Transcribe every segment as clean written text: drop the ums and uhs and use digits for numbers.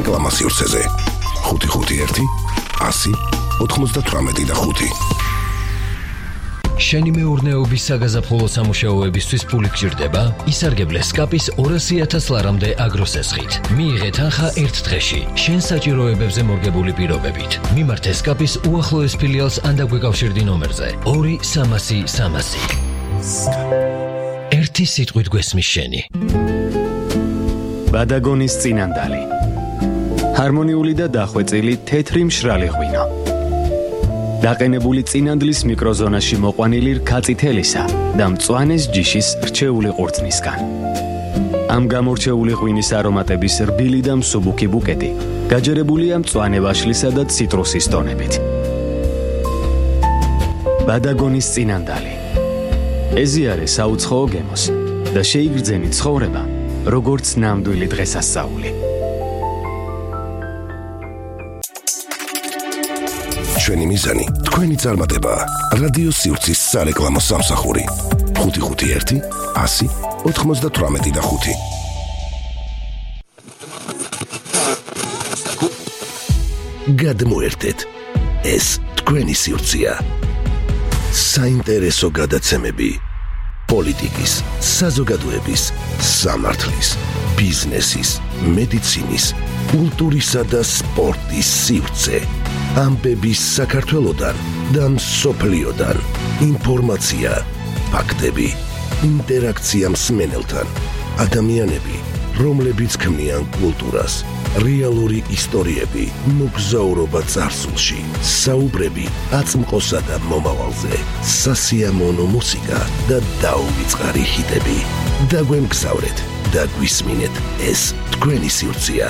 სარეკლამო სივრცეზე 551 100 98 შენი მეურნეობის საგაზაფხულო სამუშაოებისთვის ფული გჭირდება? ისარგებლე სკაპის 200,000 ლარამდე აგროსესხით. მიიღე თანხა ერთ დღეში, შენ საჭიროებებზე მორგებული პირობებით. მიმართე სკაპის უახლოეს ფილიალს ან დაგვეკავშირდი ნომერზე 2-300-300. ერთი სიტყვით გვესმის შენი. ბადაგონის წინანდალი. ჰარმონიული და დახვეწილი თეთრი მშრალი ღვინო. დაყენებული წინანდლის მიკროზონაში მოყვანილი რქაწითელისა და მწვანეს ჯიშის რჩეული ყურძნისგან. ამ გამორჩეული ღვინის არომატების რბილი და მსუბუქი ბუკეტი გაჯერებულია მწვანე ვაშლისა და ციტრუსის ტონებით. ბადაგონის წინანდალი. ეზიარე საუცხოო გემოს და შეიგრძენი ცხოვრება, როგორც ნამდვილი დღესასწაული. ჩვენი მიზანი თქვენი წარმატება. რადიო სივრცის სარეკლამო სამსახური 551 100 98 გადმოერთეთ. ეს თქვენი სივრცეა. საინტერესო გადაცემები პოლიტიკის, საზოგადოების, სამართლის, ბიზნესის, მედიცინის, კულტურისა და სპორტის სივრცე. ამბების საქართველოდან და მსოფლიოდან. ინფორმაცია, ფაქტები, ინტერაქცია მსმენელთან. ადამიანები, რომლებიც ქმნიან კულტურას. რეალური ისტორიები, მოგზაურობა წარსულში. საუბრები აწმყოსა და მომავალზე. სასიამოვნო მუსიკა და დაუვიწყარი ჰიტები. დაგვემგზავრეთ და გვისმინეთ. ეს თქვენი სივრცეა.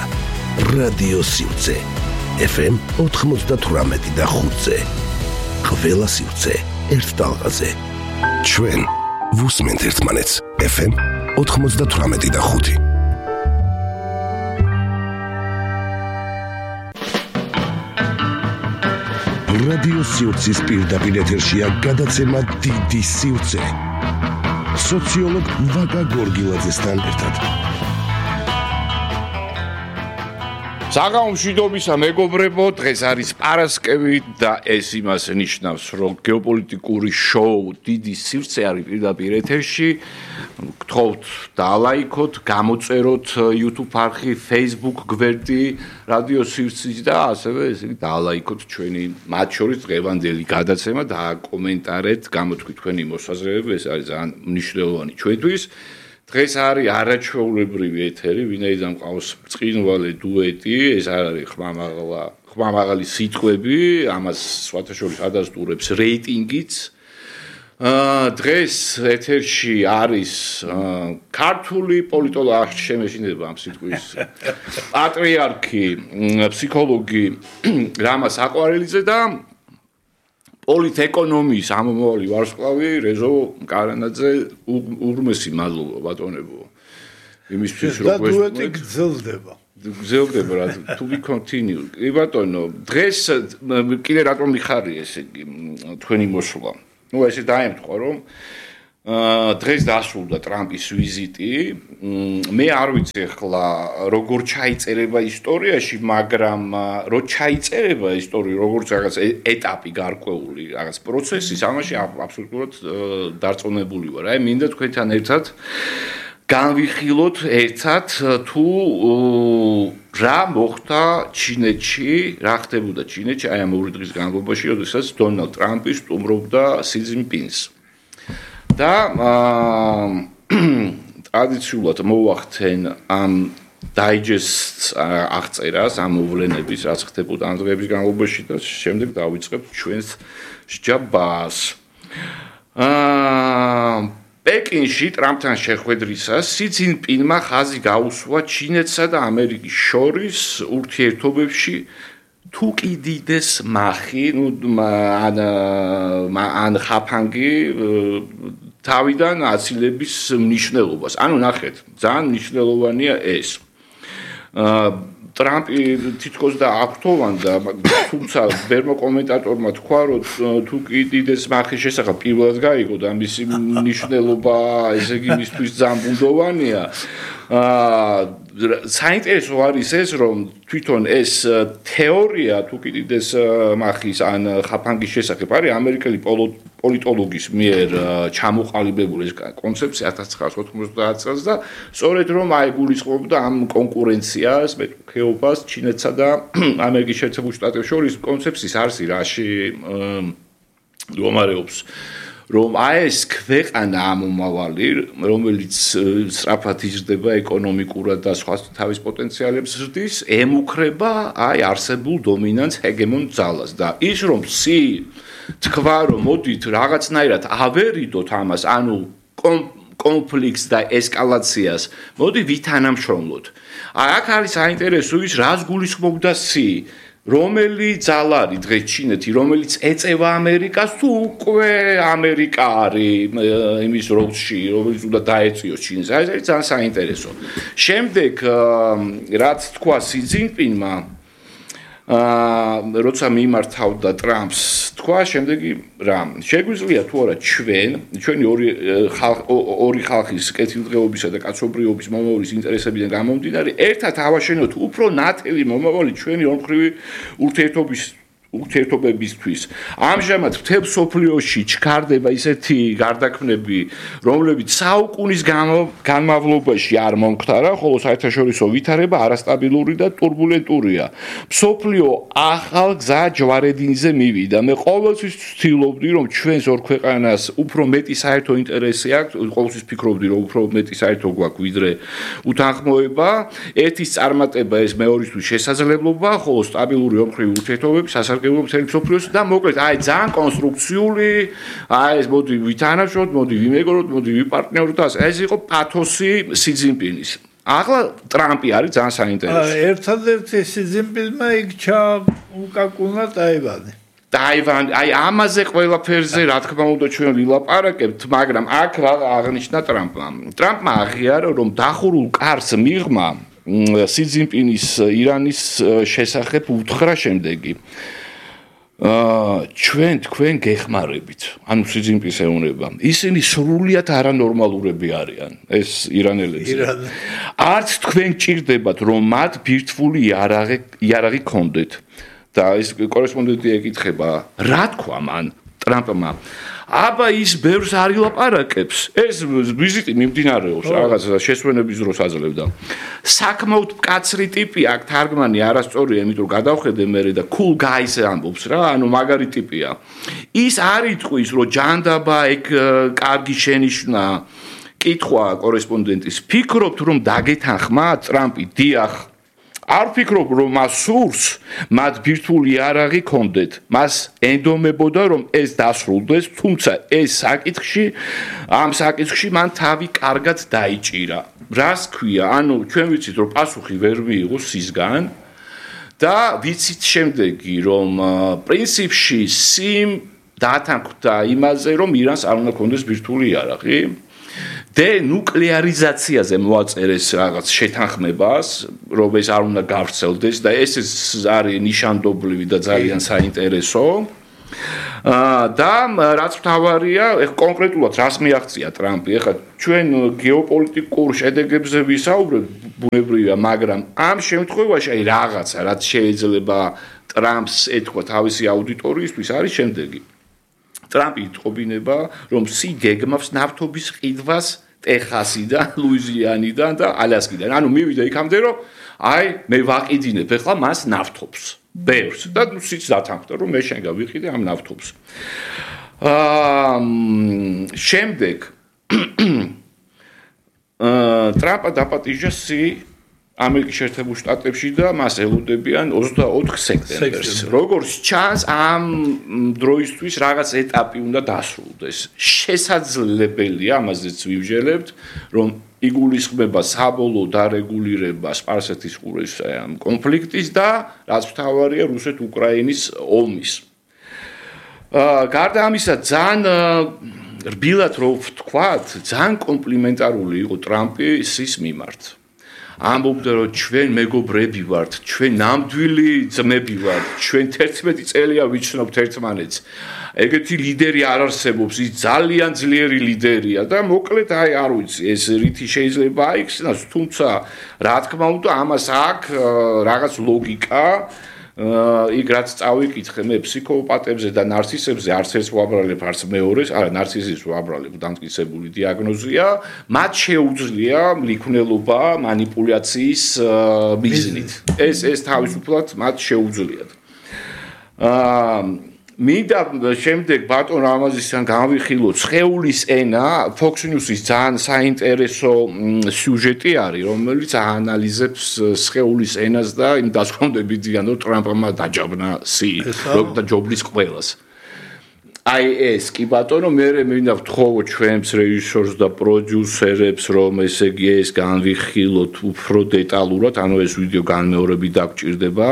რადიო სივრცე. FM 98.5-ზე. ყველა სივრცე ერთ ტალღაზე. ჩვენ ვუსმენთ ერთმანეთს. FM 98.5. რადიო სივრცის პირდაპირ ეთერშია გადაცემა დიდი სივრცე. სოციოლოგ ვაკა გორგილაძესთან ერთად. საგამშვიდობისა მეგობრებო, დღეს არის პარასკევი და ეს იმას ნიშნავს, რომ გეოპოლიტიკური შოუ დიდი სივრცე არის პირდაპირ ეთერში. გთხოვთ დალაიქოთ, გამოწეროთ YouTube არხი, Facebook გვერდი რადიო სივრცის და ასევე ესე დალაიქოთ ჩვენი მათ შორის დღევანდელი გადაცემა და კომენტარეთ, გამოთქვით თქვენი მოსაზრებები, ეს არის ძალიან მნიშვნელოვანი ჩვენთვის. დღეს არის არაჩვეულებრივი ეთერი, ვინაიდან მყავს ბრწყინვალე დუეტი, ეს არ არის ხმამაღალი სიტყვები, ამას სხვათა შორის ადასტურებს რეიტინგიც. დღეს ეთერში არის ქართული პოლიტოლოგი, შემეშინდება ამ სიტყვის პატრიარქი, ფსიქოლოგი რამა საყვარელიძე და პოლიტეკონომიის ამომავალი ვარსკვლავი რეზო კარანაძე. უღრმესი მადლობა ბატონებო იმისთვის რომ დუეტი გრძელდება რა to be continue. ბატონო, დღეს კიდე რატომ მიხარია ესე იგი თქვენი მოსვლა? ნუ ესე დაემთხვა რომ დღეს დასრულდა ტრამპის ვიზიტი. მე არ ვიცი ახლა როგორ ჩაიწერება ისტორიაში, მაგრამ რო ჩაიწერება ისტორია როგორც რაღაც ეტაპი გარკვეული, რაღაც პროცესის, ამაში აბსოლუტურად დარწმუნებული ვარ. აი მინდა თქვენთან ერთად განვიხილოთ ერთად თუ რა მოხდა ჩინეთში, რა ხდებოდა ჩინეთში აი ამ 2 დღის განმავლობაში, როდესაც დონალდ ტრამპი სტუმრობდა სი ძინპინს. და ტრადიციულად მოვახდენ ამ დაიჯესტს აღწერას, ამ მოვლენების, რაც ხდებოდა ამ დღეების განმავლობაში და შემდეგ დავიწყებთ ჩვენს სჯაბას. პეკინში ტრამპთან შეხვედრისას სი ძინპინმა ხაზი გაუსვა ჩინეთსა და ამერიკის შორის ურთიერთობებში თუ კიდიდეს მახი, ან ხაფანგი თავიდან აცილების მნიშვნელობას. ანუ ნახეთ, ძალიან მნიშვნელოვანია ეს. ტრამპი თითქოს და აფრთოვანდა, თუმცა ბერმო კომენტატორმა თქვა, რომ თუ კიდიდეს მახის შესახებ პირველად გაიგო და მისი მნიშვნელობა, ესე იგი, მისთვის ძალიან ბუნდოვანია. საინტერესო არის ეს, რომ თვითონ ეს თეორია თუ კიდეს მახის ან ხაფანგის შესახებ არის ამერიკელი პოლიტოლოგის მიერ ჩამოყალიბებული ეს კონცეფცია 1990 წელს და სწორედ რომ აი გულისხმობდა ამ კონკურენციას, მეტოქეობას ჩინეთსა და ამერიკის შეერთებულ შტატებს შორის კონცეფციის არსი რაში მდგომარეობს რომ აი ეს ქვეყანა ამომავალი, რომელიც სწრაფად იზრდება ეკონომიკურად და სხვა თავის პოტენციალებს ზრდის, ემუქრება აი არსებულ დომინანტ ჰეგემონ ძალას და ის რომ თქვა რომ მოდით რაღაცნაირად ავერიდოთ ამას, ანუ კონფლიქტს და ესკალაციას, მოდი ვითანამშრომლოთ. აი აქ არის საინტერესო ის რას გულისხმობდა რომელი ძალა არის დღეს ჩინეთი, რომელიც ეწევა ამერიკას თუ უკვე ამერიკა არის იმის როლში, რომელიც უნდა დაეწიოს ჩინს. ეს არის ძალიან საინტერესო. შემდეგ რაც თქვა სი ძინპინმა, როცა მიმართავდა ტრამპს, თქვა შემდეგი რა, შეგვიძლია თუ არა ჩვენი ორი ხალხის კეთილდღეობისა და კაცობრიობის მომავლის ინტერესებიდან გამომდინარე, ერთად ავაშენოთ უფრო ნათელი მომავალი ჩვენი ორმხრივი ურთიერთობებისთვის. ამჟამად მთელ სოფლიოში ჩქარდება ისეთი გარდაქმნები, რომლებიც საუკუნის განმავლობაში არ მომხდარა, ხოლო საერთაშორისო ვითარება არასტაბილური და ტურბულენტურია. სოფლიო ახალ გზა ჯვარედინზე მივიდა. მე ყოველთვის ვცდილობდი, რომ ჩვენს ორ ქვეყანას უფრო მეტი საერთო ინტერესი აქვს, ყოველთვის ფიქრობდი, რომ უფრო მეტი საერთო გვაქვს, ვიდრე უთანხმოება. ერთის წარმატება ეს მეორისთვის შესაძლებლობა, ხოლო სტაბილური ორმხრივი ურთიერთობები მსოფლიოს და მოკლედ აი ძალიან კონსტრუქციული აი ეს მოდი ვითანამშრომლოთ, მოდი ვიმეგობროთ, მოდი ვიპარტნიოროთ და ეს იყო პათოსი სი ძინპინის. ახლა ტრამპი არის ძალიან საინტერესო. ერთადერთი სი ძინპინმა იქჩა უკაკუნა ტაივანი, აი ამაზე ყველაფერზე რა თქმა უნდა ჩვენ ვილაპარაკებთ, მაგრამ აქ რა აღნიშნა ტრამპმა. ტრამპმა აღიარა რომ დახურულ კარს მიღმა სი ძინპინის ირანის შესახებ უთხრა შემდეგი თქვენ გეხმარებით, ანუ სი ძინპინს ეუბნება. ისინი სრულიად არანორმალურები არიან, ეს ირანელები. არც თქვენ ჭირდებათ, რომ მათ ბირთვული იარაღი გქონდეთ. და ეს კორესპონდენტი ეკითხება, რა თქვა მან ტრამპმა? აბა ის ბევრს არ ილაპარაკებს. ეს ვიზიტი მიმდინარეობს რაღაც შესვენების დროს აძლევდა. საკმაოდ მკაცრი ტიპი აქ თარგმანი არასწორია, იმიტომ გადავხედე მე და cool guys ამბობს რა, ანუ მაგარი ტიპია. ის არ იტყვის, რომ ჯანდაბა ეგ კარგი შენიშვნა. კითხვა კორესპონდენტის, ფიქრობთ რომ დაგეთანხმა ტრამპი? დიახ. არ ფიქრობ რომ მას სურს მათ ბირთვული იარაღი გქონდეთ, მას ენდომებოდა რომ ეს დასრულდეს, თუმცა ამ საკითხში მან თავი კარგად დაიჭირა. რას ქვია? ანუ ჩვენ ვიცით რომ პასუხი ვერ მიიღო სისგან და ვიცით შემდეგი რომ პრინციპში სიმ დათანხმდა იმაზე რომ ირანს არ უნდა გქონდეს ბირთვული იარაღი. დენუკლეარიზაციაზე მოაწერეს რაღაც შეთანხმებას, რომ ეს არ უნდა გავრცელდეს და ეს არის ნიშანდობლივი და ძალიან საინტერესო. და რაც მთავარია, კონკრეტულად რას მიაღწია ტრამპი? ეხლა ჩვენ გეოპოლიტიკურ შედეგებზე ვისაუბრებთ, ბუნებრივია, მაგრამ ამ შემთხვევაში აი რაღაცა, რაც შეიძლება ტრამპს ეთქვა თავისი აუდიტორიისთვის, არის შემდეგი. ტრამპი იტყობინება, რომ სი გეგმავს ნავთობის ყიდვას ტეხასიდან, ლუიზიანიდან და ალასკიდან. ანუ მივიდა იქამდე, რომ აი მე ვაყიდინებ ახლა მას ნავთობს. ბევრს და სიც დათანხმდა, რომ მე შენ გავიყიდე ამ ნავთობს. შემდეგ ტრამპა დაპატიჟა სი ამერიკის შეერთებულ შტატებში და მას ელოდებიან 24 სექტემბერს. როგორც ჩანს, ამ დროისთვის რაღაც ეტაპი უნდა დასრულდეს. შესაძლებელია, ამაზეც ვივჟელებთ, რომ იგულისხმება საბოლოო დარეგულირება სპარსეთის ყურეს ამ კონფლიქტის და რაც მთავარია რუსეთ-უკრაინის ომის. გარდა ამისა, ძალიან რბილად რო ვთქვათ, ძალიან კომპლიმენტარული იყო ტრამპი სის მიმართ. ამბობდა რომ ჩვენ მეგობრები ვართ, ჩვენ ნამდვილი ძმები ვართ, ჩვენ 11 წელია ვიცნობთ ერთმანეთს. ეგეთი ლიდერი არ არსებობს, ის ძალიან ძლიერი ლიდერია და მოკლედ აი არ ვიცი ეს რითი შეიძლება აიხსნას, თუმცა რა თქმა უნდა ამას აქვს რაღაც ლოგიკა. იქ რაც წავიკითხე მე ფსიქოპატებზე და ნარცისებზე არც ერთს ვაბრალებ, არც მეორეს, არა ნარცისიზმს ვაბრალებ, დამტკიცებული დიაგნოზია, მათ შეუძლია მლიქნელობა, манипуляციის ბიზნით. ეს თავისუფლად მათ შეუძლიათ. მინდა შემდეგ ბატონ რამაზისთან განვიხილოთ სხეულის ენა, Fox News-ის ძალიან საინტერესო სიუჟეტი არის, რომელიც აანალიზებს სხეულის ენას და იმ დასკვნებებიდან, რომ ტრამპმა დაჯაბნა და ჯობლის ყველას. აი ეს კი ბატონო, მე მინდა ვთხოვო ჩვენს რეჟისორს და პროდიუსერებს, რომ ესე იგი ეს განვიხილოთ უფრო დეტალურად, ანუ ეს ვიდეო განმეორებით დაგჭირდება.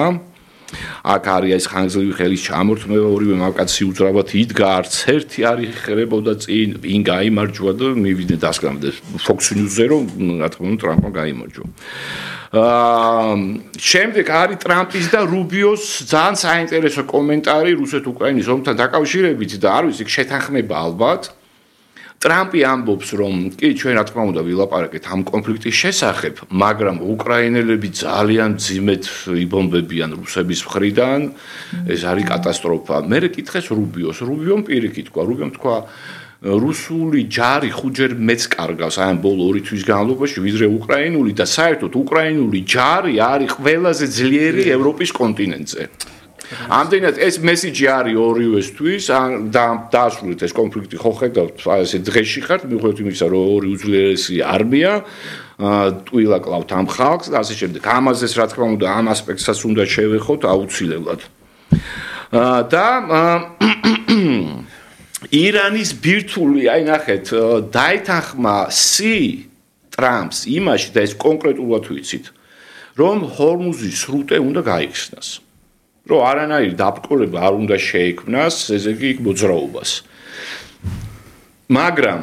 აქ არის ეს ხანგრძლივი ხელის ჩამორთმევა, ორივე მამკაცი უძრავად იდგა, არც ერთი არ იხერებოდა წინ, ვინ გაიმარჯვა და მივიდნენ დასკვნამდე Fox News-ზე, რომ რა თქმა უნდა ტრამპმა გაიმარჯვა. შემდეგ არის ტრამპის და რუბიოს ძალიან საინტერესო კომენტარი რუსეთ-უკრაინის ომთან დაკავშირებით და არ ვიცი, შეთანხმება ალბათ. ტრამპი ამბობს, რომ კი ჩვენ რა თქმა უნდა ვილაპარაკეთ ამ კონფლიქტის შესახებ, მაგრამ უკრაინელები ძალიან ძიმედ იბომბებიან რუსების მხრიდან, ეს არის კატასტროფა. მე კითხეს რუბიოს, რუბიომ პირიქით თქვა, რუბიომ თქვა რუსული ჯარი ხუჯერ მეც კარგავს აი ამ ბოლო 2 თვის განმავლობაში ვიდრე უკრაინული და საერთოდ უკრაინული ჯარი არის ყველაზე ძლიერი ევროპის კონტინენტზე. ამდენად ეს მესიჯი არის ორივესთვის და დაასრულეთ ეს კონფლიქტი ხო ხედავთ ესე დღეში ხართ მიუხედავად იმისა რომ ორი უძლიერესი არმია ტყილა კლავთ ამ ხალხს და ასე შემდეგ ამაზეც რა თქმა უნდა ამ ასპექტსაც უნდა შევეხოთ აუცილებლად და ირანის ბირთვული აი ნახეთ დაეთანხმა ტრამპს იმაში და ეს კონკრეტულად ვიცით რომ ჰორმუზის სრუტე უნდა გაიხსნას რომ არანაირი დაბრკოლება არ უნდა შეექმნას ესე იგი მოძრაობას. მაგრამ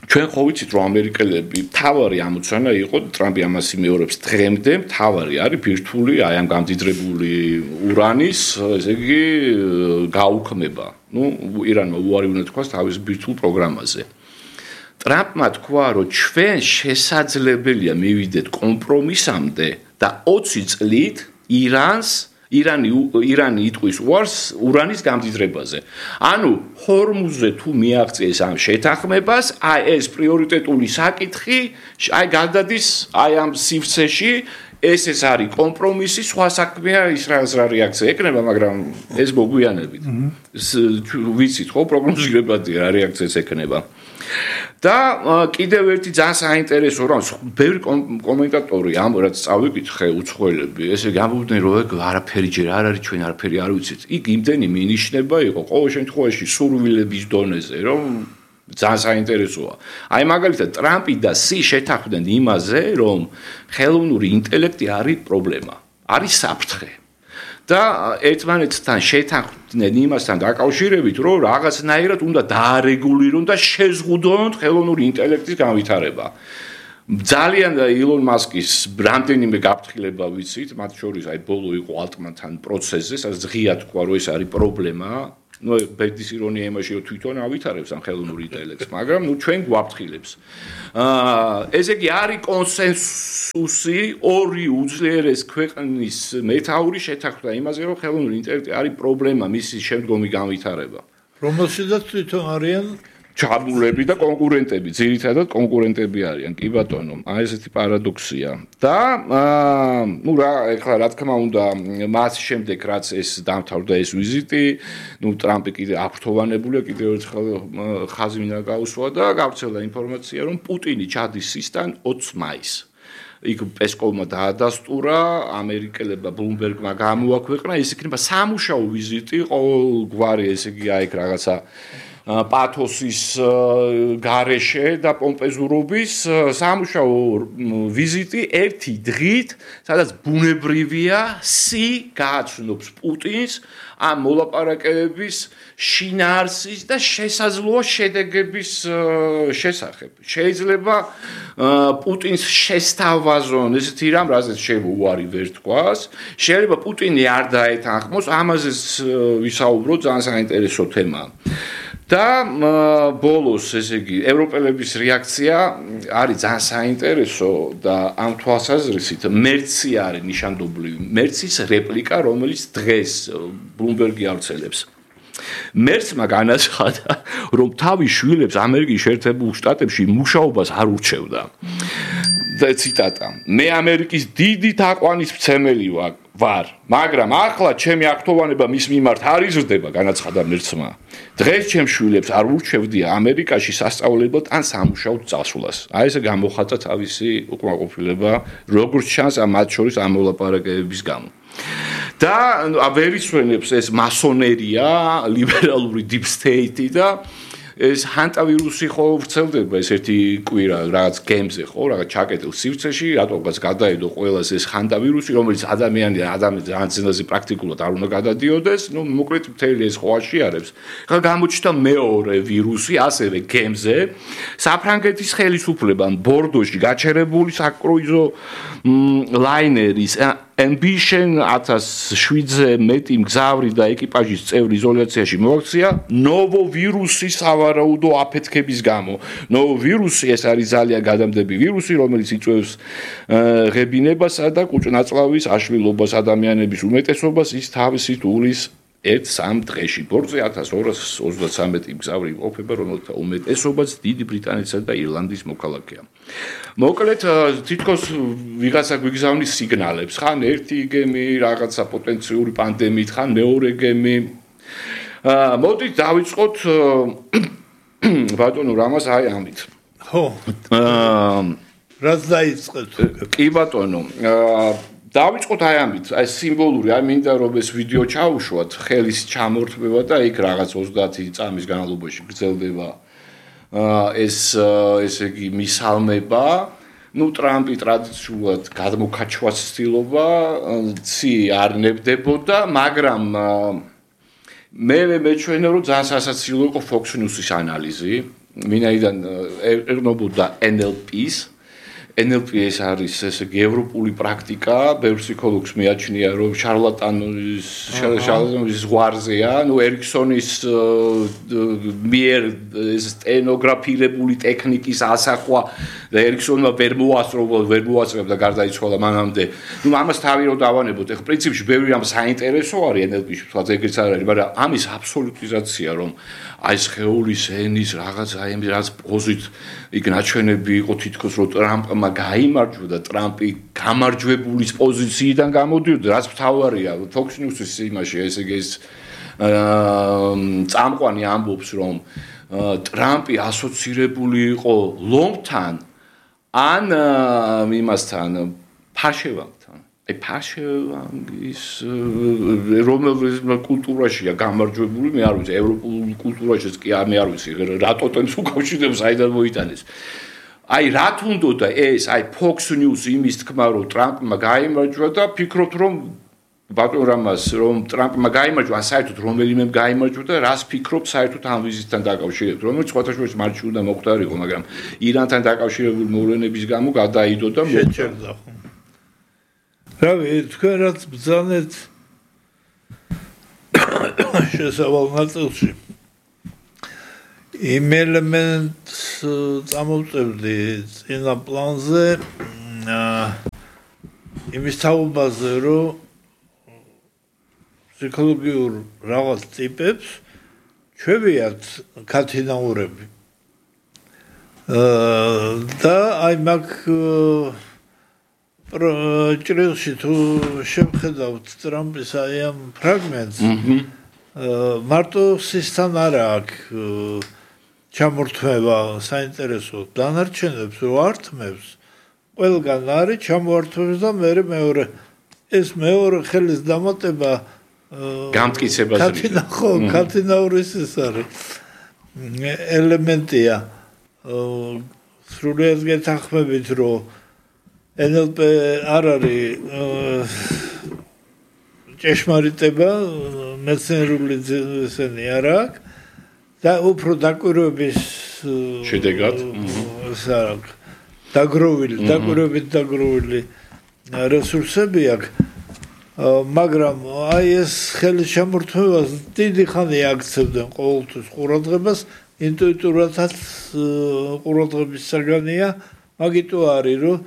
ჩვენ ხო ვიცით რომ ამერიკელები თავარი ამოცანა იყო ტრამპი ამას იმეორებს დღემდე თავარი არის ბირთვული აი ამ გამდიდრებული ურანის ესე იგი გაუქმება. ნუ ირანმა უარი უნდა თქვას თავის ბირთვულ პროგრამაზე. ტრამპმა თქვა რომ ჩვენ შესაძლებელია მივიდეთ კომპრომისამდე და 20 წლით ირანი იტყვის უარს ურანის გამდიდრებაზე. ანუ ჰორმუზზე თუ მიაღწიეს ამ შეთანხმებას, აი ეს პრიორიტეტული საკითხი, აი გადადის აი ამ სივრცეში, ეს არის კომპრომისი, სხვა საქმეა ისრაელს რა რეაქცია ეკნება, მაგრამ ეს მოგვიანებით. ვიცით ხო, პროგნოზირებადია რა რეაქციას ეკნება. და კიდევ ერთი ძალიან საინტერესო რამ ბევრი კომენტატორი ამ რაც წავიკითხე უცხოელები ესე გამოვიდნენ რომ არაფერი ჯერ არ არის ჩვენ არაფერი არ ვიცით იქ იმდენი მინიშნება იყო ყოველ შემთხვევაში სურვილების დონეზე რომ ძალიან საინტერესოა აი მაგალითად ტრამპი და შეთანხმდნენ იმაზე რომ ხელოვნური ინტელექტი არის პრობლემა არის საფრთხე და ერთმანეთთან შეთანხმდნენ იმასთან დაკავშირებით, რომ რაღაცნაირად უნდა დაარეგულირონ და შეზღუდონ ხელოვნური ინტელექტის განვითარება. ძალიან ილონ მასკის რამდენიმე გაფრთხილება ვიცით, მათ შორის აი ბოლო იყო ალტმანთან პროცესზე, სადაც ღია თქვა, რომ ეს არის პრობლემა. ნუ ბედის ირონია იმაში, რომ თვითონ ავითარებს ამ ხელოვნურ ინტელექტს, მაგრამ ნუ ჩვენ გვაფრთხილებს. ესე იგი არის კონსენსუსი ორი უძლიერეს ქვეყნის მეთაური შეთანხმდა იმაზე, რომ ხელოვნური ინტელექტი არის პრობლემა მისი შემდგომი განვითარება. რომელშიც თვითონ არიან ჩაბულები და კონკურენტები, ძირითადად კონკურენტები არიან, კი ბატონო. აი ესეთი პარადოქსია. და ნუ ეხლა რა თქმა უნდა, მას შემდეგ რაც ეს დამთავრდა ეს ვიზიტი, ნუ ტრამპი კიდე აფრთოვანებულია, კიდე ერთხელ ხაზი მინდა გაუსვა და გავრცელდა ინფორმაცია, რომ პუტინი ჩადის სისთან 20 მაისს. იქ პესკოვმა დაადასტურა, ამერიკელებმა ბლუმბერგმა გამოაქვეყნა, ეს იქნება სამუშაო ვიზიტი, ყოველგვარი ესე იგი აი რაღაცა პათოსის გარეშე და პომპეზურობის სამუშაო ვიზიტი ერთი დღით, სადაც ბუნებრივია გააცნობს პუტინს ამ მოლაპარაკებების შინაარსის და შესაძლოა შედეგების შესახებ. შეიძლება პუტინს შესთავაზონ ესეთი რამ, რაზეც შეიძლება უარი ვერ თქვას. შეიძლება პუტინი არ დაეთანხმოს, ამაზე ვისაუბროთ, ძალიან საინტერესო თემაა. და ბოლოს, ესე იგი, ევროპელების რეაქცია არის ძალიან საინტერესო და ამ თვალსაზრისით მერცი არის ნიშანდობლივი. მერცის რეპლიკა, რომელიც დღეს ბლუმბერგი ავრცელებს. მერცმა განაცხადა, რომ თავის შვილებს ამერიკის შეერთებულ შტატებში მუშაობას არ ურჩევდა. და ციტატა: მე ამერიკის დიდი თაყვანისმცემელი ვარ, მაგრამ ახლა ჩემი აქტოვანება მის მიმართ არ იზრდება, განაცხადა მერცმა. დღეს ჩემს შვილებს არ ურჩევდია ამერიკაში სასწავლებლად ან სამუშაოდ წასვლას. აი ესე გამოხატა თავისი უკმაყოფილება, როგორც ჩანს მათ შორის ამ მოლაპარაკებების გამო. და ვერ ისვენებს ეს მასონერია, ლიბერალური deep state და ეს ჰანტავირუსი ხო ვრცელდება ეს ერთი კვირა რაღაც გემზე ხო რაღაც ჩაკეტილ სივრცეში რატომღაც გადაედო ყველას ეს ჰანტავირუსი რომელიც ადამიანი ძალიან ძნელზე პრაქტიკულად არ უნდა გადადიოდეს ნუ მოკლედ მთელი ეს ხო აშიარებს ხა გამოჩნდა მეორე ვირუსი ასევე გემზე საფრანგეთის ხელისუფლებამ ბორდოში გაჩერებული საკრუიზო ლაინერის Ambition 1700-ზე მეტი მგზავრი და ეკიპაჟის წევრი იზოლაციაში მოაქცია ნოვო ვირუსის სავარაუდო აფეთქების გამო. ნოვო ვირუსი ეს არის ძალიან გადამდები ვირუსი, რომელიც იწვევს ღებინებასა და კუჭ-ნაწლავის აშლილობას ადამიანების უმეტესობას ის თავისით უვლის 1-3 დღეში. ბორტზე 1233 მგზავრი იმყოფება, რომელთა უმეტესობაც დიდი ბრიტანეთისა და ირლანდიის მოქალაქეა. მოკლედ თითქოს ვიღაცა გვიგზავნის სიგნალებს, ხან ერთი გემი რაღაცა პოტენციური პანდემიით, ხან მეორე გემი. მოდით დავიწყოთ ბატონო რამას აი ამით. ხო. რაც დაიწყეთ. კი ბატონო. დავიწყოთ აი ამით, აი სიმბოლური, აი მინდა რომ ეს ვიდეო ჩაუშვათ, ხელის ჩამორთმევა და იქ რაღაც 30 წამის განმავლობაში გრძელდება ესე იგი მისალმება, ნუ ტრამპი ტრადიციულად გადმოქაჩვას ცდილობა, ცი არ ნებდებოდა, მაგრამ მე მეჩვენა რომ ძალიან სასაცილო იყო Fox News-ის ანალიზი, მინაიდან ერნობოდა NLP-ს NLP-ის არის ესე იგი ევროპული პრაქტიკა, ბევრ ფსიქოლოგს მიაჩნია რომ შარლატანის ზღვარზეა, ნუ ერიქსონის მიერ სტენოგრაფირებული ტექნიკის ასახვა და ერიქსონმა ვერ მოასწრებდა გარდაიცვალა მანამდე. ნუ ამას თავი რომ დავანებოთ, ეხლა პრინციპში ბევრი ამ საინტერესო არის NLP-ში, თქვა ეგეც არ არის, მაგრამ ამის აბსოლუტიზაცია რომ აი სხეულის ენის რაღაც აი ამ რაღაც პოზით იქ ნაჩვენები იყო თითქოს რომ ტრამპმა გაიმარჯვა და ტრამპი გამარჯვებულის პოზიციიდან გამოდიოდა, რაც მთავარია Fox News-ის იმაში, ესე იგი ეს წამყვანი ამბობს რომ ტრამპი ასოცირებული იყო ლომთან ან იმასთან ფაშევანგთან. აი ფაშევანგის რომელის კულტურაშია გამარჯვებული, მე არ ვიცი, ევროპულ კულტურაშიც კი არ მე არ ვიცი, რა ტოტემს უკავშირდება, საიდან მოიტანეს. აი რა თუნდოდა ეს, აი Fox News იმის თქმა რომ ტრამპმა გაიმარჯვა და ფიქრობთ რომ ბატონ რამას რომ ტრამპმა გაიმარჯვა, საერთოდ რომელიმემ გაიმარჯვა და რას ფიქრობ საერთოდ ამ ვიზიტთან დაკავშირებით, რომელიც სხვათაშორის მარტში უნდა მოხდარიყო, მაგრამ ირანთან დაკავშირებული მოვლენების გამო გადაიდო და შეჭერდა ხო. რავი, თქვენ რაც ბრძანეთ შესავალ ნაწილში იმ ელემენტს წამოვწევდი წინა პლანზე იმის თაობაზე რომ ფსიქოლოგიურ რაღაც ტიპებს ჩვევიათ ქათინაურები და აი მაგ ჭრილში თუ შევხედავთ ტრამპის აი ამ ფრაგმენტს მარტო სისთან არა აქვს ჩამორთმევა საინტერესო დანარჩენებს რო ართმევს ყველგან არის ჩამოართმევს და მეორე ეს მეორე ხელის დამატება გამტკიცებას ქათინაურის ის არის ელემენტია სრულიად გეთანხმებით რომ NLP არ არის ჭეშმარიტება მეცნიერული ესენი არ აქვს და უფრო დაკვირვების შედეგად დაკვირვებული რესურსები აქვს მაგრამ აი ეს ხელის შემორთმევას დიდი ხანი აქცევდნენ ყოველთვის ყურადღებას ინტუიტურადაც ყურადღების საგანია მაგიტო არის რომ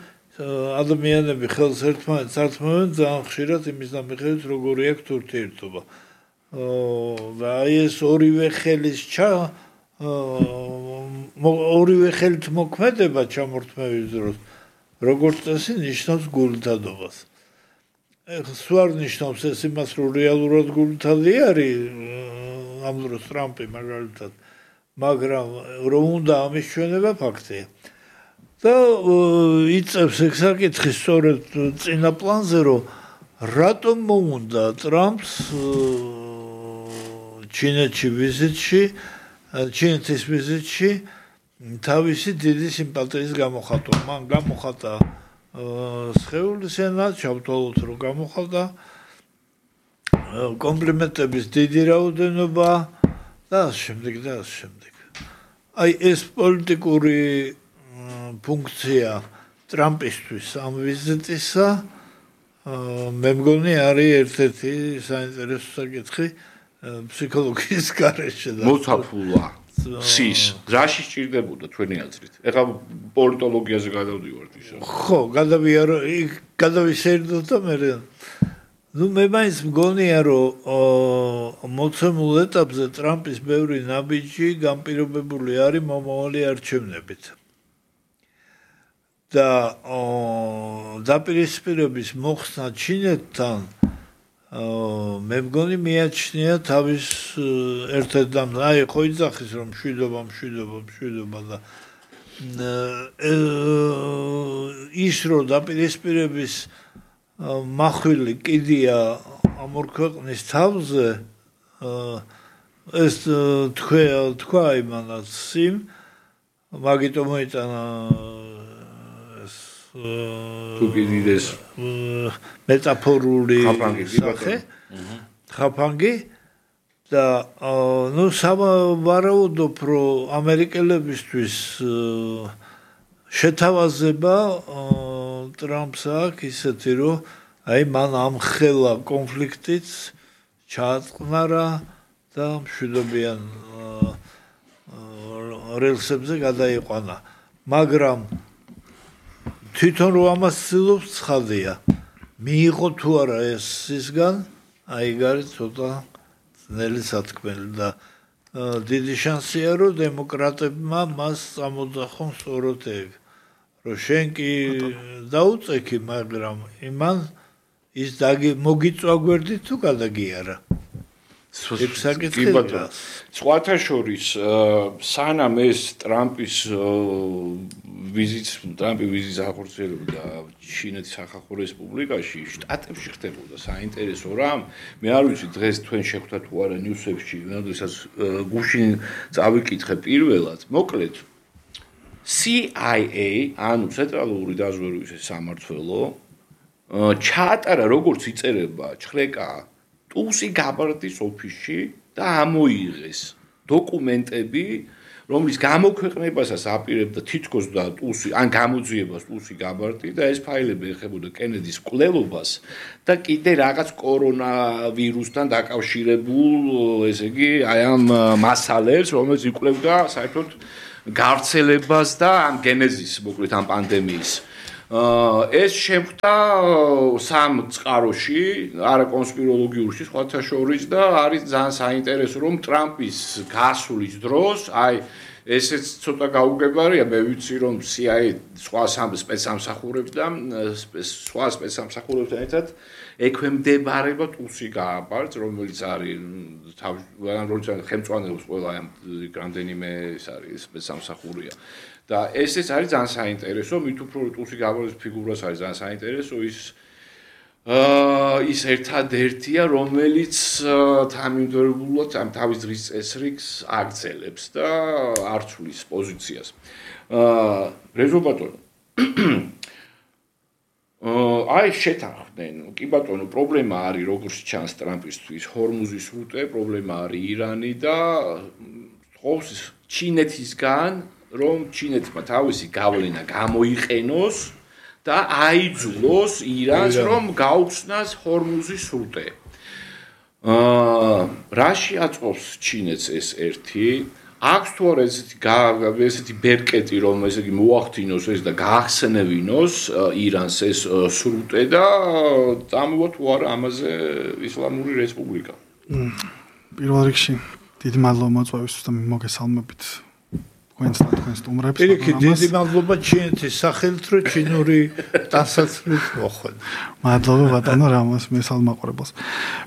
ადამიანები ხელს ერთმანეთს ართმევენ ძალიან ხშირად იმის დამიხევით როგორი აქვს ურთიერთობა და აი ეს ორივე ხელით მოქმედება ჩამორთმევის დროს როგორც წესი ნიშნავს გულთადობას სულ არ ნიშნავს ეს იმას რომ რეალურად გულთადი არის ამ დროს ტრამპი მაგალითად მაგრამ რომ უნდა ამის ჩვენება ფაქტია და იწევს ეგ საკითხი სწორედ წინა პლანზე რომ რატომ მოუნდა ტრამპს ჩინეთის ვიზიტში თავისი დიდი სიმპათიის გამოხატვა მან გამოხატა სხეულის ენა ჩავთვალოთ რომ გამოხატა კომპლიმენტების დიდი რაოდენობა და შემდეგ აი ეს პოლიტიკური ფუნქცია ტრამპისთვის ამ ვიზიტისა მე მგონი არის ერთ-ერთი საინტერესო საკითხი ფსიქოლოგიის გარეშე და მოცაფულა სის რაში სჭირდებოდა თქვენი აზრით ეხლა პოლიტოლოგიაზე გადავდივართ ისე ხო გადავისერდოთ და მე მე მაინც მგონია რომ მოცემულ ეტაპზე ტრამპის ბევრი ნაბიჯი განპირობებული არის მომავალი არჩევნებით და დაპირისპირების მოხსნა ჩინეთთან მე მგონი მიაჩნია თავის ერთ-ერთ აი ხო იძახის რომ მშვიდობა და ის რომ დაპირისპირების მახვილი კიდია ამ ორ ქვეყნის თავზე ეს თქვა იმანაც სიმ მაგიტო მოიტანა თუკიდიდეს მეტაფორული სახე ხაფანგი და ნუ სავარაუდო პრო ამერიკელებისთვის შეთავაზება ტრამპს აქვს ისეთი რომ აი მან ამ ხელა კონფლიქტიც ჩაატყნარა და მშვიდობიან რელსებზე გადაიყვანა მაგრამ თვითონ რომ ამას ცდილობს ცხადია მიიღო თუ არა ეს ისგან აი გარი ცოტა ძნელი სათქმელი და დიდი შანსია რომ დემოკრატებმა მას წამოძახონ სწორედ ეგ რომ შენ კი დაუწექი მაგრამ იმან ის მოგიწვა გვერდი თუ გადაგიარა ეგ საკითხი სხვათა შორის სანამ ეს ტრამპის ვიზიტს ახორციელებდა ჩინეთის სახალხო რესპუბლიკაში შტატებში ხდებოდა საინტერესო რამ მე არ ვიცი დღეს თქვენ შეხვდა თუ არა ნიუსებში როდესაც გუშინ წავიკითხე პირველად მოკლედ CIA ანუ ცენტრალური დაზვერვის სამმართველო ჩაატარა როგორც იწერება ჩხრეკა ტუსი გაბარდის ოფისში და ამოიღეს დოკუმენტები რომლის გამოქვეყნებასაც აპირებდა თითქოს და ტუსი ან გამოძიებას ტუსი გაბარდი და ეს ფაილები ეხებოდა კენედის მკვლელობას და კიდე რაღაც კორონავირუსთან დაკავშირებულ ესე იგი აი ამ მასალებს რომელიც იკვლევდა საერთოდ გავრცელებას და ამ გენეზის მოკლედ ამ პანდემიის ეს შეხვდა სამ წყაროში არა კონსპიროლოგიურში სხვათა შორის და არის ძალიან საინტერესო რომ ტრამპის გასulis დროს აი ესეც ცოტა გაუგებარია მე ვიცი რომ CIA სხვა სპეცსამსახურებს და სხვა სპეცსამსახურებთან ერთად ექვემდებარება ტუსი გააბარდს რომელიც არის თავის ხელმძღვანელობს ყველა ამ რამდენიმე ეს არის სპეცსამსახურია და ესეც არის ძალიან საინტერესო მით უფრო ტუსი გააბარდის ფიგურას არის ძალიან საინტერესო ის ის ერთადერთია, რომელიც თანმიმდევრულად ამ თავის დღის წესრიგს აგრძელებს და არ ცვლის პოზიციას. რეზო ბატონო. აი შეთანხმდნენ, კი ბატონო, პრობლემა არის როგორც ჩანს ტრამპისთვის ჰორმუზის სრუტე, პრობლემა არის ირანი და ხობს ჩინეთისგან, რომ ჩინეთმა თავისი გავლენა გამოიყენოს და აიძულოს ირანს რომ გაუხსნას ჰორმუზის სრუტე. რაში აწყობს ჩინეთს ეს ერთი? აქვს თუ არა ესეთი ბერკეტი რომ ესე იგი მოახდინოს ეს და გაახსენებინოს ირანს ეს სრუტე და წამოვა თუ არა ამაზე ისლამური რესპუბლიკა? პირველ რიგში დიდი მადლობა მოწვევისთვის და მოგესალმებით. თქვენ სტუმრებს. დიდი მადლობა ჩინეთის სახელით, რომ ჩინური დასაცმელს მოხვდა. მადლობა ბატონო რამოს მესალმაყურებელს.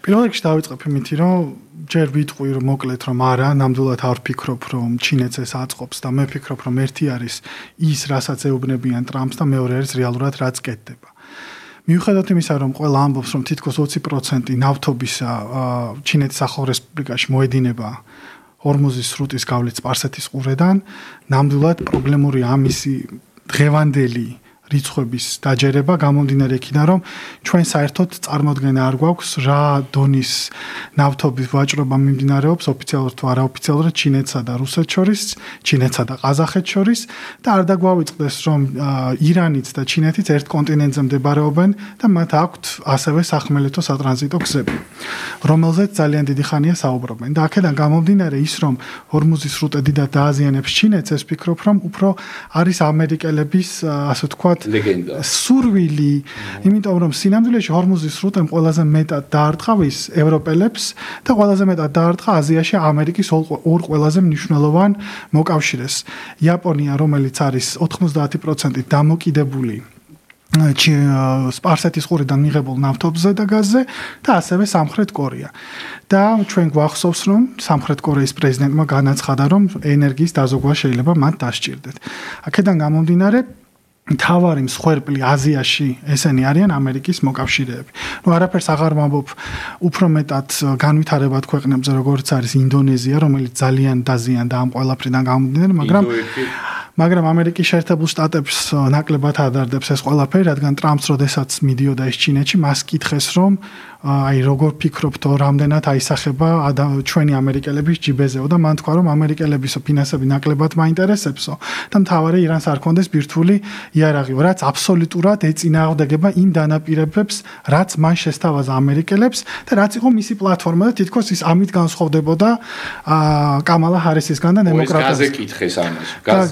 პირველ რიგში დავიწყებ იმითი, რომ ჯერ ვიტყვი რომ მოკლედ რომ არა, ნამდვილად არ ვფიქრობ რომ ჩინეთს ეს აწყობს და მე ვფიქრობ რომ ერთი არის ის, რასაც ეუბნებიან ტრამპს და მეორე არის რეალურად რაც კეთდება. მიუხედავად იმისა, რომ ყველა ამბობს, რომ თითქოს 20% ნავთობისა ჩინეთის ახალ რესპუბლიკაში მოედინება ჰორმუზის სრუტის გავლით სპარსეთის ყურედან, ნამდვილად პრობლემური ამისი დღევანდელი რიცხვების დაჯერება გამომდინარე იქიდან, რომ ჩვენ საერთოდ წარმოდგენა არ გვაქვს რა დონის ნავთობის ვაჭრობა მიმდინარეობს ოფიციალურად თუ არაოფიციალურად ჩინეთსა და რუსეთს შორის, ჩინეთსა და ყაზახეთს შორის და არ დაგვავიწყდეს, რომ ირანიც და ჩინეთიც ერთ კონტინენტზე მდებარეობენ და მათ აქვთ ასევე სახმელეთო სატრანზიტო გზები, რომელზეც ძალიან დიდი ხანია საუბრობენ. და აქედან გამომდინარე ის, რომ ჰორმუზის სრუტე დიდად დააზიანებს ჩინეთს, ეს ვფიქრობ, რომ უფრო არის ამერიკელების ასე ვთქვათ სურვილი, იმიტომ რომ სინამდვილეში ჰორმუზის სრუტემ ყველაზე მეტად დაარტყა ევროპელებს და ყველაზე მეტად დაარტყა აზიაში ამერიკის ორ ყველაზე მნიშვნელოვან მოკავშირეს. იაპონია, რომელიც არის 90% დამოკიდებული სპარსეთის ყურიდან მიღებულ ნავთობზე და გაზზე და ასევე სამხრეთ კორეა. და ჩვენ გვახსოვს, რომ სამხრეთ კორეის პრეზიდენტმა განაცხადა, რომ ენერგიის დაზოგვა შეიძლება მათ დასჭირდეთ. აქედან გამომდინარე თავარი მსხვერპლი აზიაში ესენი არიან ამერიკის მოკავშირეები. არაფერს აღარ ვამბობ უფრო მეტად განვითარებად ქვეყნებზე, როგორც არის ინდონეზია, რომელიც ძალიან დაზიანდა ამ ყველაფრიდან გამომდინარე, მაგრამ ამერიკის შეერთებულ შტატებს ნაკლებად ადარდებს ეს ყველაფერი, რადგან ტრამპს როდესაც მიდიოდა ეს ჩინეთში, მას კითხეს, რომ აი როგორ ფიქრობთ, რამდენად აისახება ჩვენი ამერიკელების ჯიბეზეო და მან თქვა, რომ ამერიკელებისო ფინანსები ნაკლებად მაინტერესებსო და მთავარი ირანს არ კონდეს ბირთვული იარაღი, რაც აბსოლუტურად ეწინააღმდეგება იმ დანაპირებებს, რაც მან შესთავაზა ამერიკელებს და რაც იყო მისი პლატფორმა და თითქოს ის ამით განსხვავდებოდა კამალა ჰარისისგან და დემოკრატებისგან. გაზე კითხეს ამას,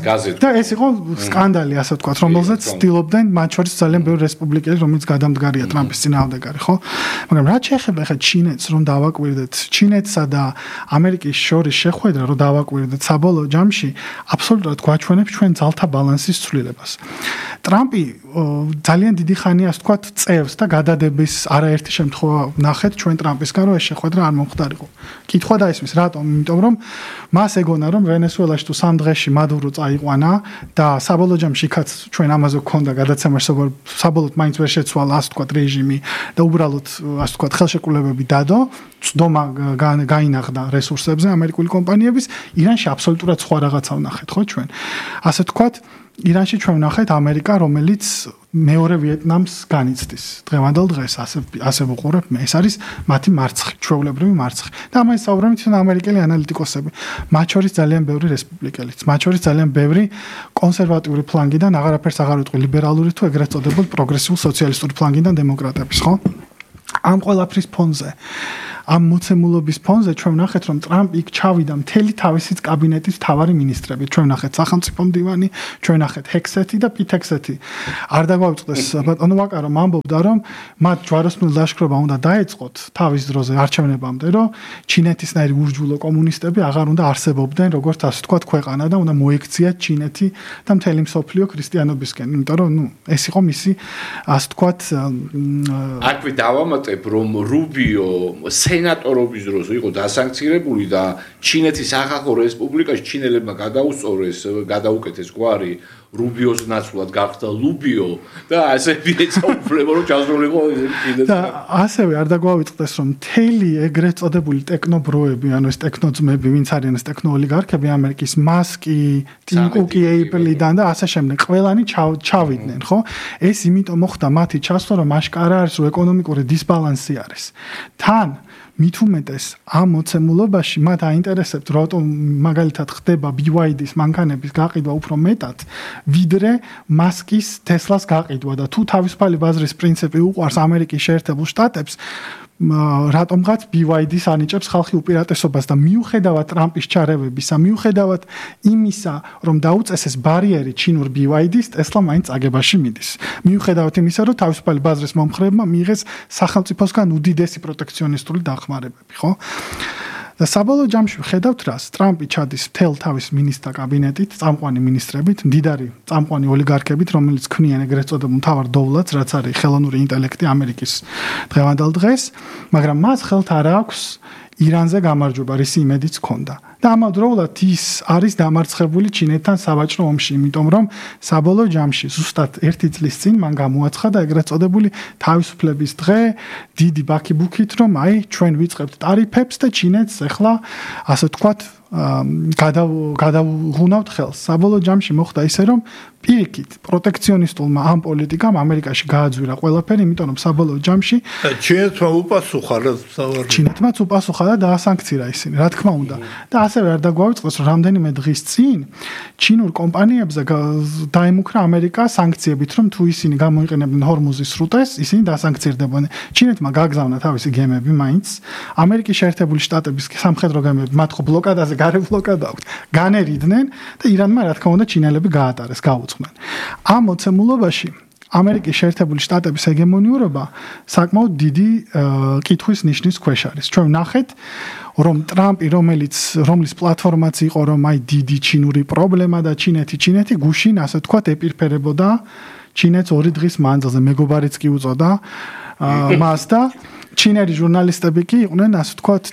გაზე. და ეს იყო სკანდალი, ასე ვთქვათ, რომელზეც ცდილობდნენ მათ შორის ძალიან ბევრი რესპუბლიკელი, რომელიც გადამდგარია ტრამპის წინააღმდეგარი, ხო? მაგრამ რაც შეეხება ხა ჩინეთს, რომ დავაკვირდეთ, ჩინეთსა და ამერიკის შორის შეხვედრა, რომ დავაკვირდეთ საბოლოო ჯამში, აბსოლუტურად გვაჩვენებს ჩვენ ძალთა ბალანსის ცვლილებას. ტრამპი ძალიან დიდი ხანია, ასე ვთქვათ, წევს და გადადების არაერთი შემთხვევა ნახეთ ჩვენ ტრამპისგან, რომ ეს შეხვედრა არ მომხდარიყო. კითხვა დაისმის, რატომ? იმიტომ რომ მას ეგონა, რომ ვენესუელაში თუ 3 დღეში მადურო წაიყვანა და საბოლოო ჯამში იქაც ჩვენ ამაზე გქონდა გადაცემა, საბოლოოდ მაინც ვერ შეცვალა, ასე ვთქვათ, რეჟიმი და უბრალოდ ასე ვთქვათ, ხელშეკრულებები დადო, წდომა გაინახდა რესურსებზე ამერიკული კომპანიების, ირანში აბსოლუტურად სხვა რაღაცა ვნახეთ, ხო ჩვენ? ასე ვთქვათ, ირანში ჩვენ ვნახეთ ამერიკა, რომელიც მეორე ვიეტნამს განიცდის. დღევანდელ დღეს ასე ვუყურებ მე, ეს არის მათი მარცხი, ჩვეულებრივი მარცხი. და ამას საუბრობენ თვითონ ამერიკელი ანალიტიკოსები, მათ შორის ძალიან ბევრი რესპუბლიკელიც, მათ შორის ძალიან ბევრი კონსერვატიული ფლანგიდან, აღარაფერს აღარ ვიტყვი ლიბერალური თუ ეგრეთ წოდებულ პროგრესიულ სოციალისტური ფლანგიდან დემოკრატების, ხო? ამ ყველაფრის ფონზე ამ მოცემულობის ფონზე ჩვენ ვნახეთ, რომ ტრამპი იქ ჩავიდა მთელი თავისი კაბინეტის მთავარი მინისტრები. ჩვენ ვნახეთ სახელმწიფო მდივანი, ჩვენ ვნახეთ ჰექსეთი და პითექსეთი. არ დაგვავიწყდეს ბატონო ვაკარო ამბობდა, რომ მათ ჯვაროსნული ლაშქრობა უნდა დაეწყოთ თავის დროზე არჩევნებამდე, რომ ჩინეთისნაირი ურჯულო კომუნისტები აღარ უნდა არსებობდნენ, როგორც ასე ვთქვათ, ქვეყანა და უნდა მოექციათ ჩინეთი და მთელი მსოფლიო ქრისტიანობისკენ. იმიტომ რომ ეს იყო მისი ასე ვთქვათ აკვი დავამატებ, რომ რუბიო სენატორობის დროს იყო დასანქცირებული და ჩინეთის ახალ რესპუბლიკაში ჩინელებმა გადაუსწორეს, გადაუკეთეს გვარი რუბიოს ნაცვლად გახდა ლუბიო და ასე ეცაუფლება რომ ჩასრულიყო კიდე და ასევე არ დაგვავიწყდეს რომ მთელი ეგრეთ წოდებული ტექნობროები ანუ ეს ტექნოძმები ვინც არიან ეს ტექნოოლიგარქები ამერიკის მასკი, ტიმ კუკი, ეიპლიდან და ასე შემდეგ ყველანი ჩავიდნენ ხო ეს იმიტომ მოხდა მათი ჩასვლა რომ აშკარა არის რომ ეკონომიკური დისბალანსი არის თან მით უმეტეს ამ მოცემულობაში მათ აინტერესებთ რატომ მაგალითად ხდება BYD-ის მანქანების გაყიდვა უფრო მეტად ვიდრე მასკის Tesla-ს გაყიდვა და თუ თავისუფალი ბაზრის პრინციპი უყვარს ამერიკის შეერთებულ შტატებს რატომღაც BYD-ს ანიჭებს ხალხი უპირატესობას და მიუხედავად ტრამპის ჩარევებისა მიუხედავად იმისა რომ დაუწესეს ბარიერი ჩინურ BYD-ს Tesla მაინც აგებაში მიდის მიუხედავად იმისა რომ თავისუფალი ბაზრის მომხრეებმა მიიღეს სახელმწიფოსგან უდიდესი პროტექციონისტული დახმარებები ხო და საბოლოო ჯამში ვხედავთ რას ტრამპი ჩადის მთელ თავის მინისტრთა კაბინეტით წამყვანი მინისტრებით მდიდარი წამყვანი ოლიგარქებით რომელიც ქმნიან ეგრეთ წოდებულ მთავარ დოვლათს რაც არის ხელოვნური ინტელექტი ამერიკის დღევანდელ დღეს მაგრამ მას ხელთ არ აქვს ირანზე გამარჯვება რის იმედიც ჰქონდა და ამავდროულად ის არის დამარცხებული ჩინეთთან საბაჭრო ომში იმიტომ რომ საბოლოო ჯამში ზუსტად 1 წლის წინ მან გამოაცხადა და ეგრეთ წოდებული თავისუფლების დღე დიდი ბაქიბუქით რომ აი ჩვენ ვიწყებთ ტარიფებს და ჩინეთს ახლა ასე ვთქვათ გადავღუნავთ ხელს საბოლოო ჯამში მოხდა ისე რომ პირიქით პროტექციონისტულმა ამ პოლიტიკამ ამერიკაში გააძვირა ყველაფერი იმიტომ რომ საბოლოო ჯამში ჩინეთმა უპასუხა ჩინეთმაც უპასუხა და დაასანქცირა ისინი რა თქმა უნდა და ასევე არ დაგვავიწყოს რომ რამდენიმე დღის წინ ჩინურ კომპანიებზე დაემუქრა ამერიკა სანქციებით რომ თუ ისინი გამოიყენებდნენ ჰორმუზის სრუტეს ისინი დასანქცირდებოდნენ ჩინეთმა გაგზავნა თავისი გემები მაინც ამერიკის შეერთებული შტატების სამხედრო გემები მათ ხო ბლოკადაზე გარე ბლოკადა აქვს განერიდნენ და ირანმა რა თქმა უნდა ჩინელები გაატარეს გაუძღნენ ამ მოცემულობაში ამერიკის შეერთებული შტატების ჰეგემონიურობა საკმაოდ დიდი კითხვის ნიშნის ქვეშ არის ჩვენ ვნახეთ რომ ტრამპი რომლის პლატფორმაც იყო რომ აი დიდი ჩინური პრობლემა და ჩინეთი გუშინ ასე ვთქვათ ეპირფერებოდა ჩინეთს 2 დღის მანძილზე მეგობარიც კი უწოდა მას და ჩინელი ჟურნალისტები კი იყვნენ ასე ვთქვათ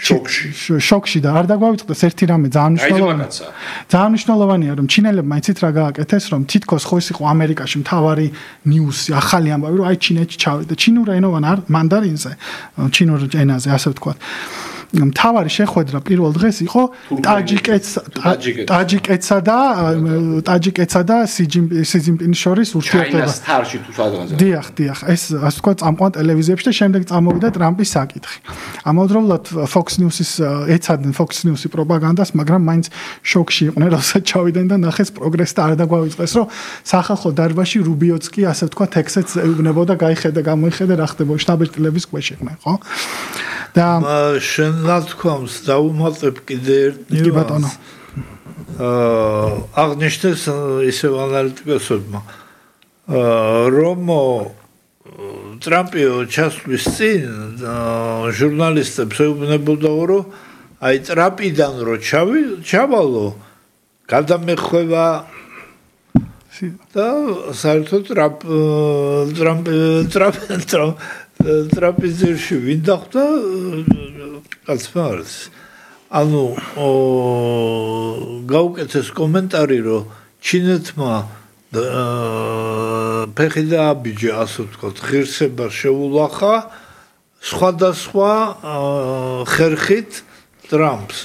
შოკში და არ დაგვავიწყდეს ერთი რამე ძალიან მნიშვნელოვანია რომ ჩინელებმა იცით რა გააკეთეს რომ თითქოს ხო ის იყო ამერიკაში მთავარი ნიუსი ახალი ამბავი რომ აი ჩინეთში ჩავიდა ჩინურ ენოვან მანდარინზე ჩინურ ენაზე ასე ვთქვათ მთავარი შეხვედრა პირველ დღეს იყო ტაჯიკეთსა და სი ჯინპინის შორის ურთიერთობა. დიახ, ეს ასე ვთქვათ წამყვან ტელევიზიებში და შემდეგ წამოვიდა ტრამპის საკითხი. ამავდროულად Fox News-ის ეცადნენ Fox News-ი პროპაგანდას, მაგრამ მაინც შოკში იყვნენ, როცა ჩავიდნენ და ნახეს პროგრესს და არ დაგვავიწყეს, რომ სახალხო დარბაზში რუბიოც კი ასე ვთქვათ ტექსტს ეუბნებოდა, გაიხედა, გამოიხედა რა ხდება შტაბ-ეტილების ქვეშ იყვნენ, ხო? და ნათქვამს დაუმატებ კიდე ერთ ნიუანსს. აღნიშნეს ისევ ანალიტიკოსებმა, რომ ტრამპი ჩასვლის წინ ჟურნალისტებს ეუბნებოდა, რომ აი ტრამპიდან რო ჩავალო, გადამეხვევა და საერთოდ ტრაპეზერში ვინ დახვდა კაცმა არის ანუ გაუკეთეს კომენტარი რომ ჩინეთმა ფეხი დააბიჯა ასე ვთქვათ ღირსება შეულახა სხვადასხვა ხერხით ტრამპს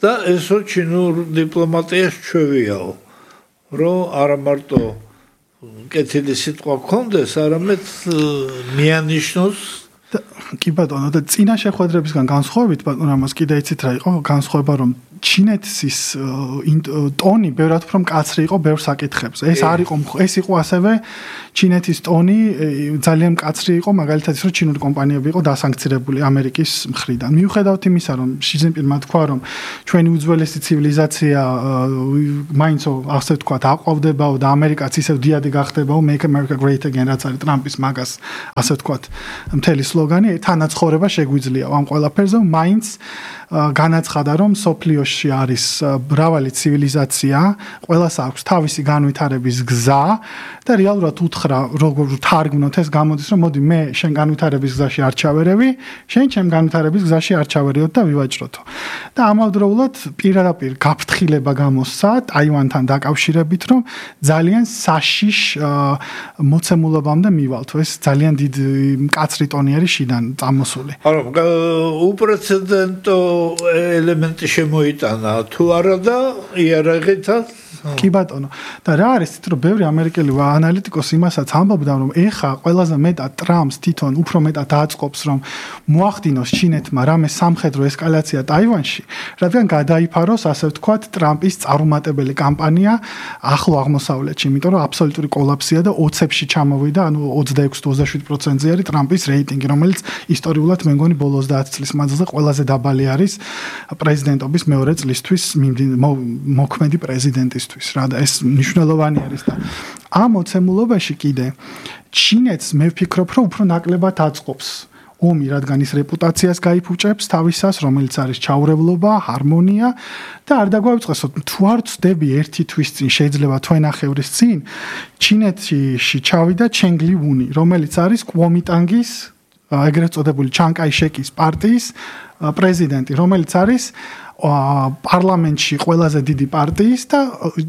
და ესო ჩინურ დიპლომატიას ჩვევიაო რომ არა მარტო კეთილი სიტყვა გქონდეს, არამედ მიანიშნოს კი ბატონო და წინა შეხვედრებისგან განსხვავებით ბატონო ამას კიდე იცით რა იყო განსხვავება რომ ჩინეთის ტონი ბევრად უფრო მკაცრი იყო ბევრ საკითხებზე. ეს იყო ასევე ჩინეთის ტონი ძალიან მკაცრი იყო მაგალითად ის რომ ჩინური კომპანიები იყო დასანქცირებული ამერიკის მხრიდან. მიუხედავად იმისა რომ ში ჯინპინმა თქვა რომ ჩვენი უძველესი ცივილიზაცია მაინც ასე ვთქვათ აყვავდებაო და ამერიკაც ისევ დიადი გახდებაო Make America Great Again რაც არის ტრამპის მაგას ასე ვთქვათ მთელი სლოგანი თანაცხოვრება შეგვიძლია ამ ყველაფერზე მაინც განაცხადა, რომ სოფლიოში არის მრავალი ცივილიზაცია, ყველას აქვს თავისი განვითარების გზა და რეალურად უთხრა, როგორ თარგმნოთ ეს გამოდის, რომ მოდი მე შენ განვითარების გზაში არ ჩავერევი, შენ ჩემ განვითარების გზაში არ ჩავერევოთ და ვივაჭროთო. და ამავდროულად პირდაპირ გაფრთხილება გამოსცა ტაივანთან დაკავშირებით, რომ ძალიან საშიშ მოცემულობამდე მივალთ. ეს ძალიან დიდი მკაცრი ტონი არის შიდან წამოსული. არა, უპრეცედენტო ელემენტი შემოიტანა თუ არა და იარაღითაც კი ბატონო. და რა არის თითო რომ ბევრი ამერიკელი ანალიტიკოსი იმასაც ამბობდა, რომ ეხა ყველაზე მეტად ტრამპს თვითონ უფრო მეტად აწყობს, რომ მოახდინოს ჩინეთმა რამე სამხედრო ესკალაცია ტაივანში, რადგან გადაიფაროს, ასე ვთქვათ, ტრამპის წარუმატებელი კამპანია ახლო აღმოსავლეთში, იმიტომ რომ აბსოლუტური კოლაფსია და ოცებში ჩამოვიდა, ანუ 26-27%-ზე არის ტრამპის რეიტინგი, რომელიც ისტორიულად მე მგონი ბოლო 30 წლის მანძილზე ყველაზე დაბალი არის პრეზიდენტობის მეორე წლისთვის მოქმედი პრეზიდენტისთვის. რა და ეს მნიშვნელოვანი არის და ამ მოცემულობაში კიდე ჩინეთს მე ვფიქრობ, რომ უფრო ნაკლებად აწყობს ომი, რადგან ის რეპუტაციას გაიფუჭებს თავისას, რომელიც არის ჩაურევლობა, ჰარმონია და არ დაგვაუწყესოთ, თუ არ ვწდები ერთი თვის წინ, შეიძლება თვენახევრის წინ, ჩინეთში ჩავიდა ჩენგ ლი უნი, რომელიც არის კუომიტანგის ეგრეთ წოდებული ჩანგ კაი შეკის პარტიის პრეზიდენტი, რომელიც არის პარლამენტში ყველაზე დიდი პარტიის და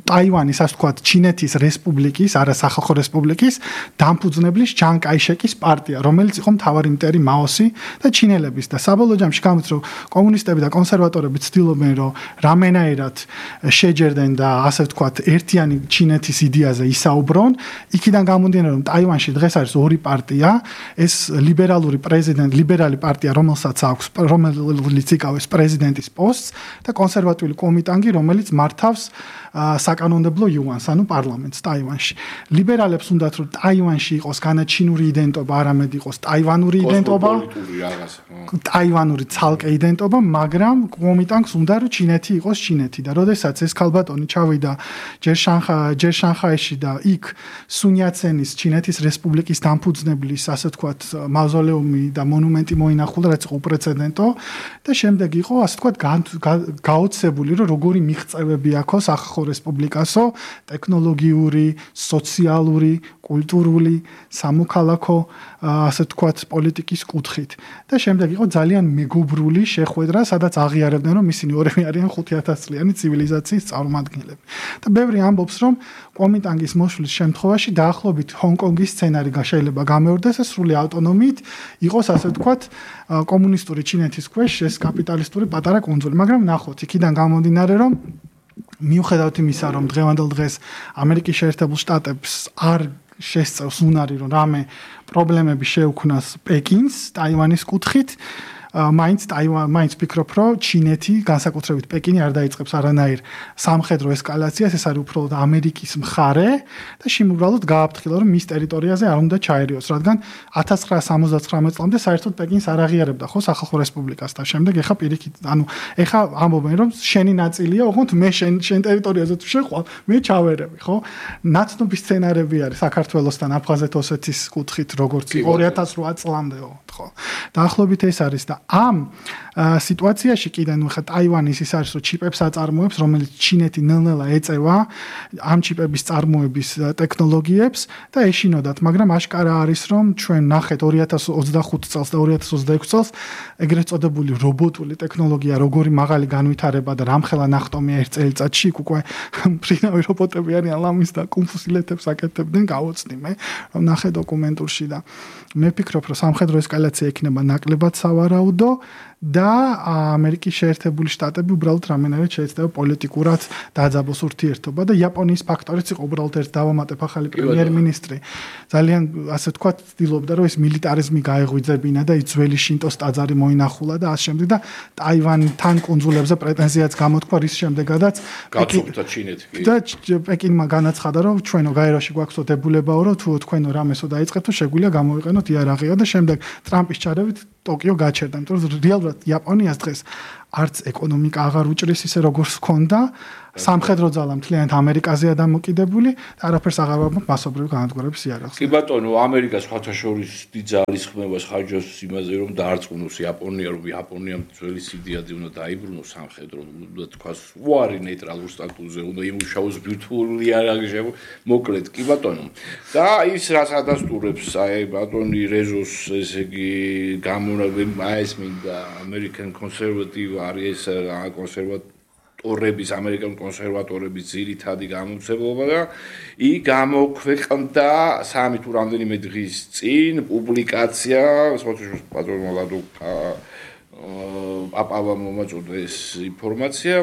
ტაივანის, ასე ვთქვათ, ჩინეთის რესპუბლიკის, არა სახალხო რესპუბლიკის დამფუძნებლის ჩანგ კაი შეკის პარტია, რომელიც იყო მთავარი მტერი მაოსი და ჩინელების და საბოლოო ჯამში გამოდის, რომ კომუნისტები და კონსერვატორები ცდილობენ, რომ რამენაირად შეჯერდნენ და ასე ვთქვათ, ერთიანი ჩინეთის იდეაზე ისაუბრონ. იქიდან გამომდინარე, რომ ტაივანში დღეს არის ორი პარტია, ეს ლიბერალური პარტია, რომელსაც აქვს, რომელიც იკავებს პრეზიდენტის პოსტს და კონსერვატიული კომიტანგი, რომელიც მართავს საკანონმდებლო იუანს, ანუ პარლამენტს ტაივანში. ლიბერალებს უნდათ, რომ ტაივანში იყოს განაჩინური იდენტობა, არამედ იყოს ტაივანური იდენტობა, ტაივანური ცალკე იდენტობა, მაგრამ კომიტანგს უნდა, რომ ჩინეთი იყოს ჩინეთი და როდესაც ეს ქალბატონი ჩავიდა ჯერ შანხაიში და იქ სუნიაცენის ჩინეთის რესპუბლიკის დამფუძნებლის, ასე ვთქვათ, მავზოლეუმი და მონუმენტი მოინახულა, რაც იყო უპრეცედენტო და შემდეგ იყო, ასე ვთქვათ, გაოცებული, რომ როგორი მიღწევები აქვს ახალ რესპუბლიკასო, ტექნოლოგიური, სოციალური, კულტურული, სამოქალაქო, ასე ვთქვათ, პოლიტიკის კუთხით. და შემდეგ იყო ძალიან მეგობრული შეხვედრა, სადაც აღიარებდნენ, რომ ისინი ორივე არიან 5000 წლიანი ცივილიზაციის წარმომადგენლები. და ბევრი ამბობს, რომ კომიტანგის მოშლის შემთხვევაში დაახლოებით ჰონკონგის სცენარი შეიძლება გამეორდეს, ეს სრული ავტონომიით იყოს, ასე ვთქვათ, კომუნისტური ჩინეთის ქვეშ ეს კაპიტალისტური პატარა კუნძული, მაგრამ ნახოთ, იქიდან გამომდინარე, რომ მიუხედავად იმისა, რომ დღევანდელ დღეს ამერიკის შეერთებულ შტატებს არ შესწევს უნარი, რომ რამე პრობლემები შეუქმნას პეკინს ტაივანის კუთხით, მაინც ვფიქრობ, რომ ჩინეთი, განსაკუთრებით პეკინი არ დაიწყებს არანაირ სამხედრო ესკალაციას, ეს არის უფრო ამერიკის მხარე და შემოუბრალოდ გააფრთხილა, რომ მის ტერიტორიაზე არ უნდა ჩაერიოს, რადგან 1979 წლამდე საერთოდ პეკინს არ აღიარებდა ხო სახალხო რესპუბლიკას და შემდეგ ეხა პირიქით, ანუ ეხა ამბობენ, რომ შენი ნაწილია, ოღონდ მე შენ ტერიტორიაზე თუ შეყვალ, მე ჩავერევი, ხო? ნაცნობი სცენარები არის საქართველოსთან აფხაზეთ-ოსეთის კუთხით, როგორც 2008 წლამდე, ხო? დაახლოებით ეს არის და ამ სიტუაციაში კიდე ნუ ხა ტაივანის ის არის, რომ ჩიპებს აწარმოებს, რომელიც ჩინეთი ნელ-ნელა ეწევა ამ ჩიპების წარმოების ტექნოლოგიებს და ეშინოდათ, მაგრამ აშკარა არის, რომ ჩვენ ნახეთ 2025 წელს და 2026 წელს ეგრეთ წოდებული რობოტული ტექნოლოგია, როგორი მაღალი განვითარება და რამხელა ნახტომია ერთ წელიწადში, უკვე ფრინავი რობოტები არიან ლამის და კუნფუსილეთებს აკეთებდნენ, გავოცნი მე, რომ ნახე დოკუმენტურში და მე ვფიქრობ, რომ სამხედრო ესკალაცია იქნება ნაკლებად სავარაუდო და ამერიკის შეერთებული შტატები უბრალოდ რამენერად შეეცდება პოლიტიკურად დაძაბოს ურთიერთობა და იაპონიის ფაქტორიც იყო უბრალოდ ერთ დავამატებ ახალი პრემიერ-მინისტრი ძალიან ასე ვთქვათ ცდილობდა რომ ეს მილიტარიზმი გაეღვიძებინა და ის ძველი შინტოს ტაძარი მოინახულა და ამ შემდეგ და ტაივანთან კუნძულებზე პრეტენზიაც გამოთქვა რის შემდეგაც გაწუხდა ჩინეთი და პეკინმა განაცხადა რომ ჩვენო გაეროში გვაქვსო დებულებაო რომ თუ თქვენო რამესო დაიწყეთ თუ შეგვიძლია გამოვიყენოთ იარაღია და შემდეგ ტრამპის ჩარევით ტოკიო გაჩერდა იმიტომ რომ რეალურად იაპონიას დღეს არც ეკონომიკა აღარ უჭრის ისე როგორც ჰქონდა სამხედრო ძალა მთლიანად ამერიკაზეა დამოკიდებული და არაფერს აღარ ვაბობ მასობრივი განადგურების იარაღს. კი ბატონო, ამერიკა სხვათაშორის დიდ ძალის ხმებას ხარჯავს იმაზე, რომ დაარწმუნოს იაპონია, რომ იაპონიამ ძველი სიდიადი უნდა დაიბრუნოს სამხედრო, და თქვას უარი ნეიტრალურ სტატუსზე, უნდა იმუშაოს ბირთვული იარაღი, მოკლედ, კი ბატონო. და ის რაც ადასტურებს აი ბატონი რეზოს, ესე იგი ეს მინდა American conservative არის კონსერვატორების, ამერიკელ კონსერვატორების ძირითადი გამოცემულობა და იქ გამოქვეყნდა 3 თუ რამდენიმე დღის წინ პუბლიკაცია, სოციალურ პატრონმა ლადო პაპავა მომაწოდა ეს ინფორმაცია,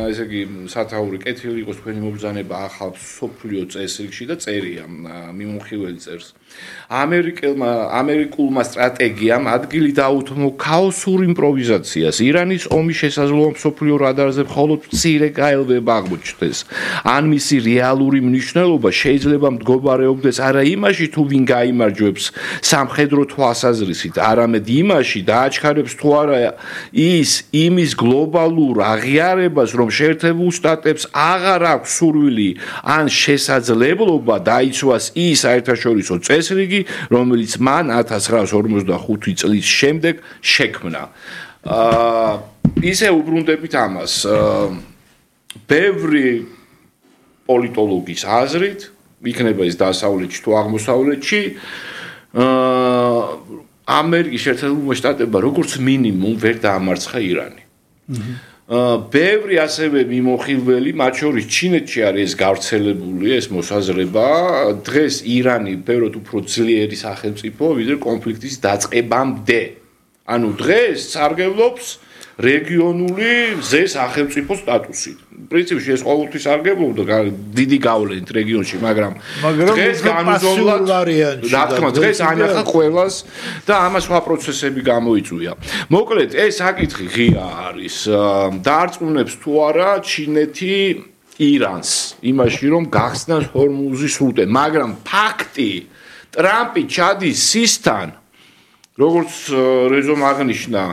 ესე იგი სათაური კეთილი იყოს თქვენი მობრძანება ახალ სოფლიო წესრიგში და წერია მიმოხილველი წერს. ამერიკულმა სტრატეგიამ ადგილი დაუთმო ქაოსურ იმპროვიზაციას. ირანის ომის შესაძლოა სოფლიო რადარზე მხოლოდ მცირე გაელვება აღმოჩნდეს. ან მისი რეალური მნიშვნელობა შეიძლება მდგომარეობდეს არა იმაში, თუ ვინ გაიმარჯვებს სამხედრო თვალსაზრისით, არამედ იმაში დააჩქარებს თუ არა ის იმის გლობალურ აღიარებას, რომ შეერთებულ შტატებს აღარ აქვს სურვილი ან შესაძლებლობა დაიცვას ის საერთაშორისო წესრიგი, რომელიც მან 1945 წლის შემდეგ შექმნა. ისე უბრუნდებით ამას. ბევრი პოლიტოლოგის აზრით, იქნება ეს დასავლეთში თუ აღმოსავლეთში, ამერიკის შეერთებულმა შტატებმა როგორც მინიმუმ ვერ დაამარცხა ირანი. ბევრი ასევე მიმოხილველი, მათ შორის ჩინეთში არის ეს გავრცელებული ეს მოსაზრება, დღეს ირანი ბევრად უფრო ძლიერი სახელმწიფოა, ვიდრე კონფლიქტის დაწყებამდე. ანუ დღეს სარგებლობს რეგიონული მზე სახელმწიფო სტატუსით. პრინციპში ეს ყოველთვის სარგებლობდა დიდი გავლენით რეგიონში, მაგრამ დღეს განუზომლად რა თქმა უნდა დღეს ანახა ყველას და ამას სხვა პროცესები გამოიწვია. მოკლედ ეს საკითხი ღია არის. დაარწმუნებს თუ არა ჩინეთი ირანს იმაში, რომ გახსნას ჰორმუზის სრუტე, მაგრამ ფაქტი ტრამპი ჩადის სისთან, როგორც რეზომ აღნიშნა,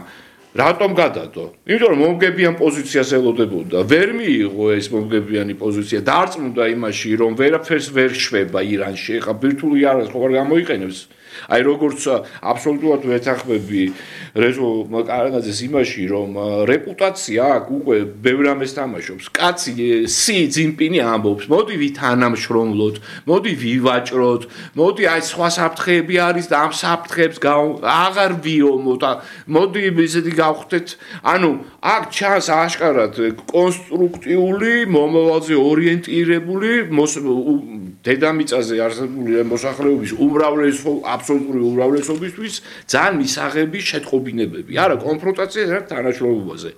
რატომ გადადო? იმიტომ რომ მომგებიან პოზიციას ელოდებოდა. ვერ მიიღო ეს მომგებიანი პოზიცია. დაარწმუნდა იმაში, რომ ვერაფერს ვერ შვება ირანში. ეხა ბირთვული იარაღს ხო არ გამოიყენებს. აი როგორც აბსოლუტურად ვეთანხმები რეზო კარანაძეს იმაში, რომ რეპუტაცია აქვს უკვე ბევრ ამას თამაშობს. კაცი სი ძინპინი ამბობს, მოდი ვითანამშრომლოთ, მოდი ვივაჭროთ, მოდი აი სხვა საფრთხეები არის და ამ საფრთხეებს აღარ ვიომოთ, მოდი ისეთი გავხდეთ. ანუ აქ ჩანს აღშკარად კონსტრუქტიული, მომავალზე ორიენტირებული დედამიწაზე არსებული მოსახლეობის აბსოლუტური უმრავლესობისთვის ძალიან მისაღები შეტყობინებები, არა კონფრონტაცია თანაშრომობაზე.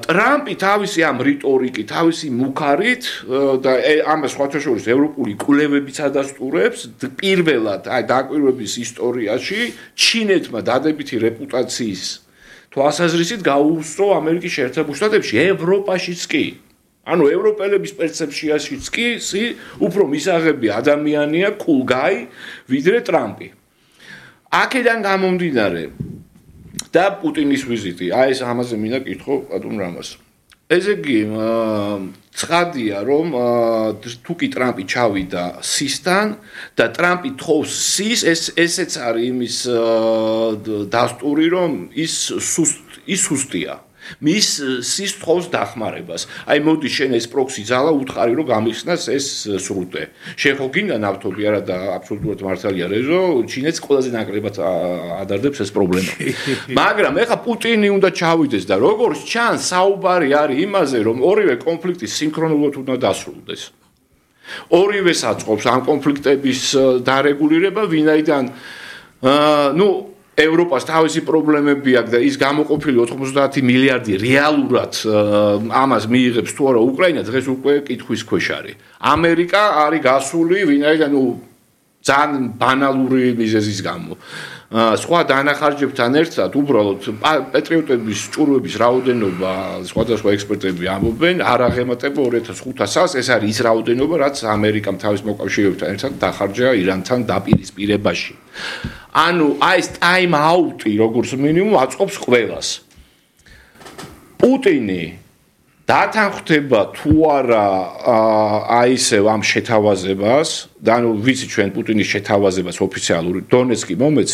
ტრამპი თავისი ამ რიტორიკით, თავისი მუქარით და ამას სხვათა შორის ევროპული კვლევებიც ადასტურებს, პირველად აი დაკვირვების ისტორიაში ჩინეთმა დადებითი რეპუტაციის თვალსაზრისით გაუუსწრო ამერიკის შეერთებულ შტატებში, ევროპაშიც კი. ანუ ევროპელების პერცეფციაშიც კი უფრო მისაღები ადამიანია კულგაი ვიდრე ტრამპი. აქედან გამომდინარე და პუტინის ვიზიტი. აი ეს ამაზე მინდა კითხო ბატონ რამას. ესე იგი ცხადია რომ თუ კი ტრამპი ჩავიდა სისთან და ტრამპი თხოვს სის, ესეც არის იმის დასტური, რომ ის სუსტია. მის სის თხოვს დახმარებას. აი მოდი შენ ეს პროქსი ძალა უთხარი რომ გამიხსნას ეს სრუტე. შენ ხო გინდა ნავთობი არა და აბსოლუტურად მართალია რეზო, ჩინეთს ყველაზე ნაკლებად ადარდებს ეს პრობლემა. მაგრამ ეხა პუტინი უნდა ჩავიდეს და როგორც ჩანს საუბარი არის იმაზე, რომ ორივე კონფლიქტი სინქრონულად უნდა დასრულდეს. ორივეს აწყობს ამ კონფლიქტების დარეგულირება, ვინაიდან ევროპას თავისი პრობლემები აქვს და ის გამოყოფილი 90 მილიარდი რეალურად ამას მიიღებს თუ არა უკრაინა დღეს უკვე კითხვის ქვეშ არის. ამერიკა არის გასული, ვინაიდან ძალიან ბანალური მიზეზის გამო. სხვა დანახარჯებთან ერთად უბრალოდ პატრიოტების ჭურვების რაოდენობა სხვადასხვა ექსპერტები ამბობენ არ აღემატება 2500-ს, ეს არის ის რაოდენობა, რაც ამერიკამ თავის მოკავშირეებთან ერთად დახარჯა ირანთან დაპირისპირებაში. ანუ აი ეს ტაიმ აუტი როგორც მინიმუმ აწყობს ყველას. პუტინი დათანხმდება თუ არა აი ესე ამ შეთავაზებას და ანუ ვიცი ჩვენ პუტინის შეთავაზებას ოფიციალური დონეცკი მომეც